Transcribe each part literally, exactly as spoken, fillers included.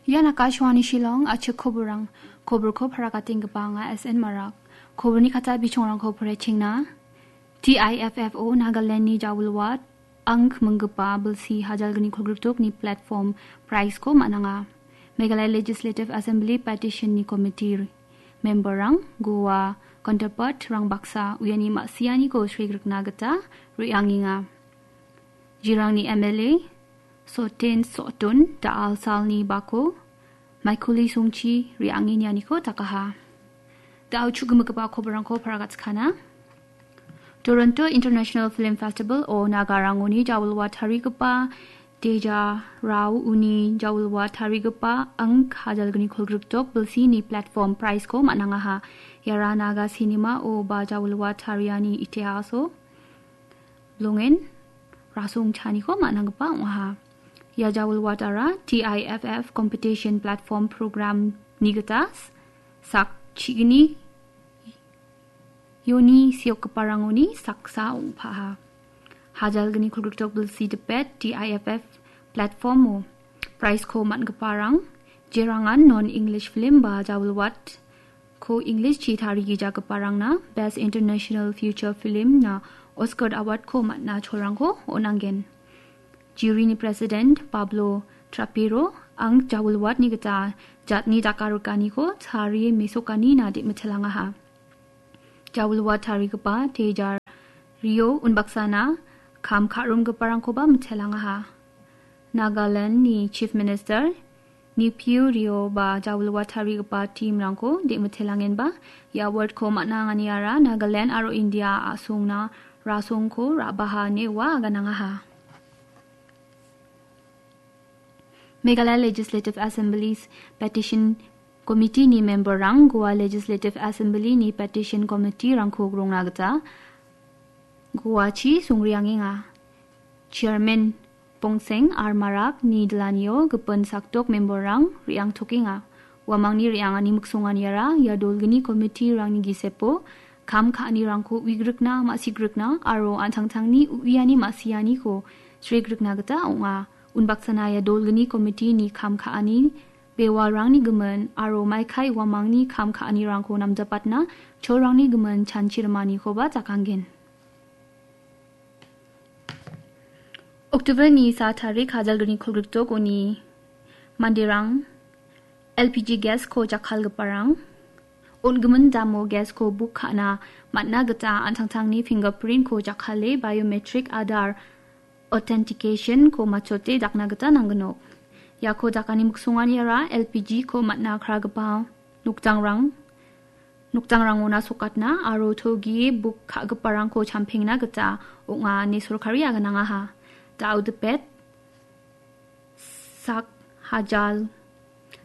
Ian Akashvani Shillong, achik koborang. Koborko parakatinggipa anga S N Marak. Koborni kata bichongrangko porechengna. T I F F O Nagalandni jawilwat ang minggipa bilsi hajalgni kolgrikdokni platform prize-ko man·anga. Meghalaya Legislative Assembly Petition-ni committee member-rang Goa counterpart-rang baksa uiani ma·sianiko sregrikna gita re·angenga. Jirangni M L A Sotin Sotun da·alsalni bako maikuli songchi re·angenianiko dakaha. Da·o chu·gimigipa koborangko paragatskana. Toronto International Film Festival o Nagarangoni jawilwa tarigipa Deja Rao uni jawilwa tarigipa ang hajalgni kolgrikdok bilsini platform prize-ko man·angaha. Iara Naga cinema-o ba jawilwa tariani itihaso longen rasongchaniko man·anggipa ong·aha. Ia jawilwatara T I F F competition platform program-ni gita sak chigni ioni seokgiparangoni saksa ong·paha. Hajalgni kolgrikdok bilsi dipet T I F F platform-o prize-ko man·giparang jerangan non-English film ba jawilwat ko English-chi tarigijagiparangna Best International Feature Film-na Oscar Award-ko man·a cholrangko on·angen. Jury-ni President Pablo Trapero ang jawilwatni gita jatni dakarikaniko tarie mesokanina de·mitelangaha. Jawilwat tarigipa Tejar Rio unbaksana kam ka·romgiparangkoba mitelangaha. Nagaland-ni Chief Minister Neiphiu Rio ba jawilwa tarigipa team-rangko de·mitelangenba ia award-ko man·a anganiara Nagaland aro India a·songna rasongko ra·baha ine ua aganangaha. Meghalaya Legislative Assembly's Petition Committee-ni member-rang Goa Legislative Assembly-ni Petition Committee-rangko grongna gita Goachi songriangenga. Chairman Pongseng R Marak-ni dilanio gipin sakdok member-rang re·angtokenga. Uamangni re·angani miksonganiara ia dolgni committee-rangni gisepo kam ka·anirangko uigrikna, ma·sigrikna aro an·tangtangni uiani ma·sianiko sregrikna gita ong·a. Unbaksana ia dolgni committee-ni kam ka·ani bewalrangni gimin aro maikai uamangni kam ka·anirangko namjapatna cholrangni gimin chanchi rimanikoba jakangen. October-ni sa tarik hajalgni kolgrikdok uni manderang L P G gas-ko jakkalgiparang on·gimin damo gas-ko book ka·na man·na gita an·tangtangni fingerprint-ko jakkale biometric Aadhaar authentication-ko matchote dakna gita nanggnok. Iako dakani miksonganiara L P G-ko man·na kragipa nokdangrang, nokdangrangona sokatna aro togie book ka·giparangko champengna gita ong·a ine sorkari aganangaha. Da·o dipet sak hajal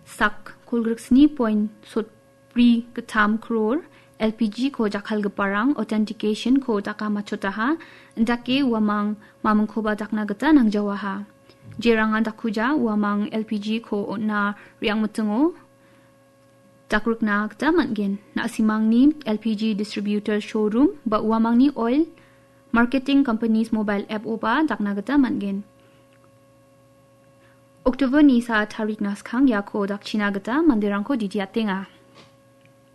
sak kolgriksni poin sotbri gittam kror L P G-ko jakkalgiparang authentication-ko daka matchotaha, indake uamang mamingkoba dakna gita nangjawaha. Jerangan dakuja uamang L P G-ko on·na re·angmitingo dakrikna gita man·gen. Na·simangni L P G distributor showroom ba uamangni oil marketing companies mobile app-oba dakna gita man·gen. October-ni sa tarikna skang iako dakchina gita manderangko didiatenga.